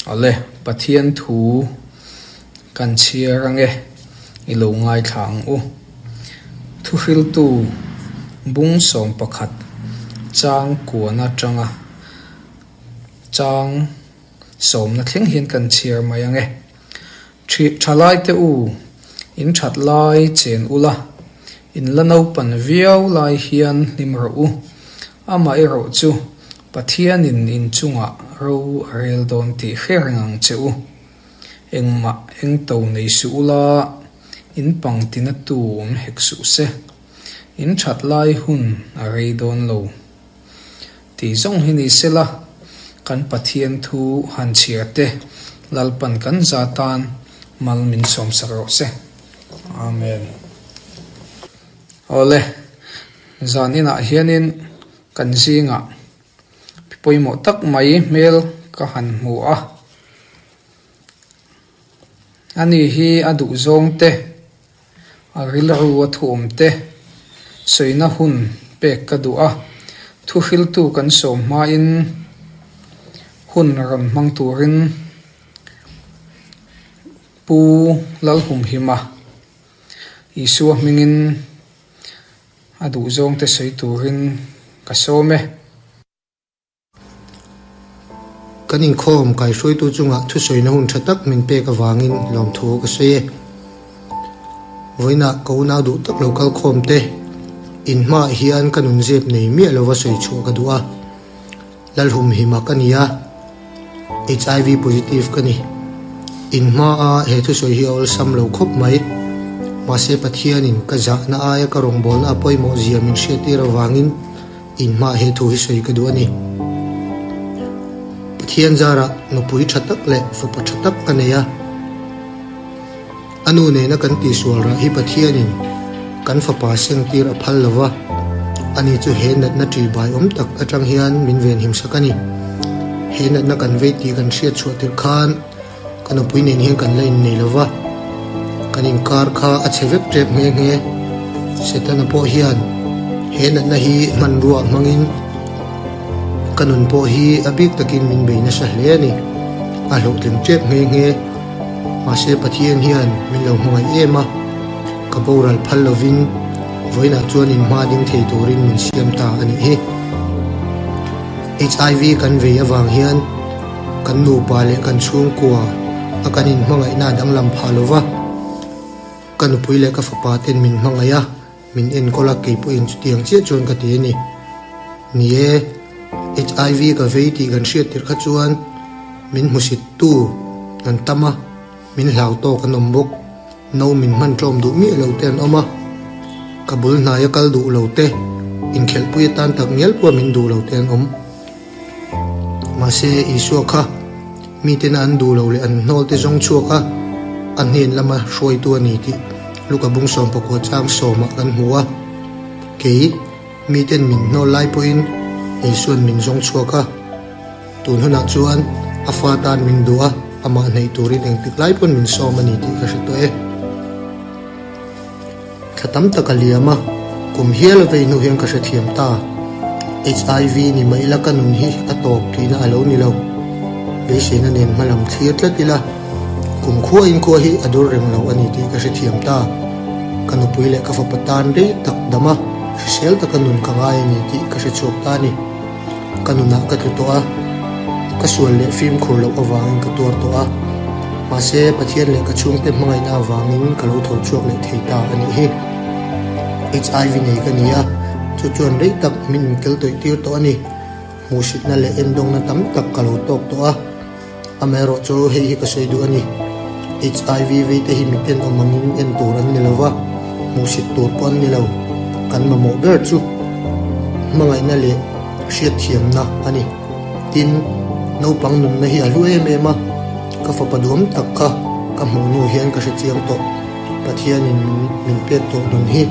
Awle, Pathian thu kan chhiar ange, i lo ngaithla ang u. Thuhriltu bung 11 chang kuan atanga chang sawmna thleng hian kan chhiar mai ange. Thalaite u, in that lai chen ula, in la naupan viau lai hian hlim rawh u. Amaherawh chu Pathianin in chungah ro a rel dawn tih hre reng ang che u. Engmah eng to nei suh ula, in pang tina tu awm hek suh se. In that lai hun a rei dawn lo. Tih zawng hi ni sela, kan Pathian thu han chhiar te Lalpan kan za tan mal min sawmsak rawh se. Amen. Awle, zan inah hianin kan zingah pi pawimawh tak mai hmel ka han hmu a. Ani hi a duhzawng te, a rilru a thuawm te sawina hun pek ka duh a. Thuhriltu kan sawm hmain hun rawn hmang turin Pu Lalhumhima Isua hmingin a duhzawngte sawi turin ka sawm e. Kan inkhawm kaihruaitu chungah thusawina hun tha tak min pek avangin lawmthu ka sawi e. Vawiinah ka unau duh tak lo kal khawm te, in hmaah hian ka nun zep nei miah lova sawi chhuah ka duh a. Lalhumhima ka ni a, HIV positive ka ni. In hmaa he thusawi hi a awlsam lo khawp mai. Mahse Pathianin ka zahna aia ka rawngbawlna a pawimawh zia min hriattir avangin in hmaah he thu hi sawi ka duh a ni. Pathian zarah nupui tha tak leh fapa tha tak ka nei a. A nu nena kan tihsual rah hi Pathianin kan fapa sengtir a phal lo va, ani chu he natna ṭihbai awm tak aṭang hian min venhim sak a ni. He natna kan vei tih kan hriat chhuah tirh khan ka nupui nen hian kan la innei lo va, kan inkar kha a chhe vek ṭep nghe nghe. Setana pawh hian he natna hi hmanrua hmangin ka nun pawh hi a bik takin min bei nasa hle a ni. A hlawhtling ṭep nghe nghe. Mahse Pathian hian min lo hmangaih em a, ka boral phal lovin vawiinah chuan in hma ding thei turin min siam ta a nih hi. HIV kan vei avang hian kan nupa leh kan chhungkua a kan inhmangaihna a danglam phah lova, ka nupui leh ka fapa ten min hmangaih a, min enkawl a, kei pawhin chutiang chiah chuan ka ti a ni. Ni e, HIV ka vei tih kan hriat tirh kha chuan min hmusittu an tam a, min hlau tawk an awm bawk. No min hman tlawm duh miah lo te an awm a, ka bul hnaia kal duh lo te, inkhelhpui atan tak ngial pawh min duh lo te an awm. Mahse, Isua kha mitena an duh lo leh an hnawl te zawng chhuak a, a hnen lama hruaitu a ni tih Luka bung 19 chang sawmah kan hmu a. Kei, miten min hnawl lai pawhin Isua'n min zawng chhuak a. Tun hunah chuan a fa tan min duh a, amah hnaih turin engtik lai pawn min sawm a ni tih ka hre tawh e. Thla tam tak a liam a, kum hial a vei hnu hian ka hrethiam ta. HIV ni mai ila ka nun hi a tawp tihna a lo ni lo. Beiseina nen hma lam thlir tlat ila, kum khua in khua hi a dur reng lo a ni tih ka hrethiam ta. Ka nupui leh ka fapa tan rei tak dam a, hrisel taka nun ka ngai a ni tih ka hrechhuak ta a ni. Ka nunah ka tlu tawh a, ka sual leh fimkhur loh avangin ka tuar tawh a. Mahse, Pathian leh ka chhungte hmangaihna avangin ka lo tho chhuak leh thei ta a nih hi. HIV nei ka ni a, chu chuan rei tak min inkel tawih tir tawh a ni. Hmuhsitna leh endawngna tam tak ka lo tawk tawh a. Amaherawh chu hei hi ka sawi duh a ni. HIV vei te hi miten awm angin en tur an ni lo va, hmuhsit tur pawh an ni lo. Kan mamawh ber chu hmangaihna leh hriatthiamna a ni. Tin, naupang nunna hi a hlu em em a, ka fapa duam tak kha ka hmuh hnu hian ka hrechiang tawh. Pathianin min pek tawh nun hi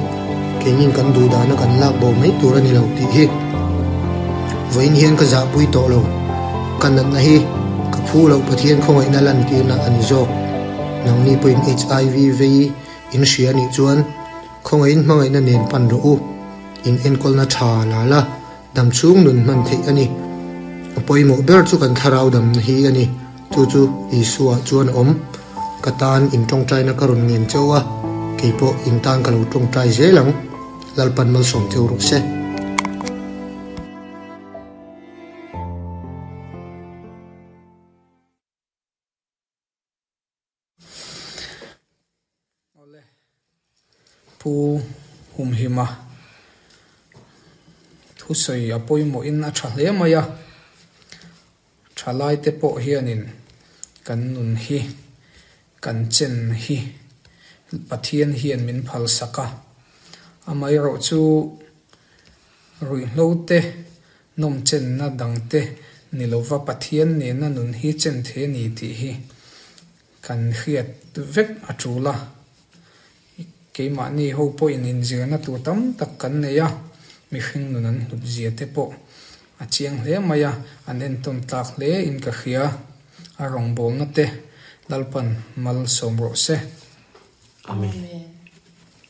keinin kan duh dana kan lak bo mai tur a ni lo tih hi vawiin hian ka zahpui tawh lo. Ka natna hi ka phu loh Pathian khawngaihna lantirna a ni zawk. Nangni pawhin HIV vei in hria a nih chuan khawngaihin hmangaihna nen pan rawh u. In enkawlna tha la la damchhung nun hman theih a ni. A pawimawh ber chu kan thlarau damna hi a ni. Chu chu Isua chuan a awm. Ka tan in tawngtaina ka rawn ngen cheu a, kei pawh in tan ka lo tawngtai zel ang. Lalpan malsawm cheu rawh se. Awle. Pu Humhima thusawi a pawimawhin a tha hle mai a, thalaite pawh hianin kan nun hi, kan chen hi Pathian hian min phalsak a, amaherawh chu ruihhlo te, nawmchenna dangte ni lova Pathian nena nun hi chen thei a ni tih hi Kan hriat vek a tul a, keimahni ho pawhin inzirna tur tam tak kan nei a, mihring nun an hlut zia te pawh a chiang hle mai a, an entawn tlak hle in ka hria, a rawngbawlna te Lalpan malsawm rawh se. Amen.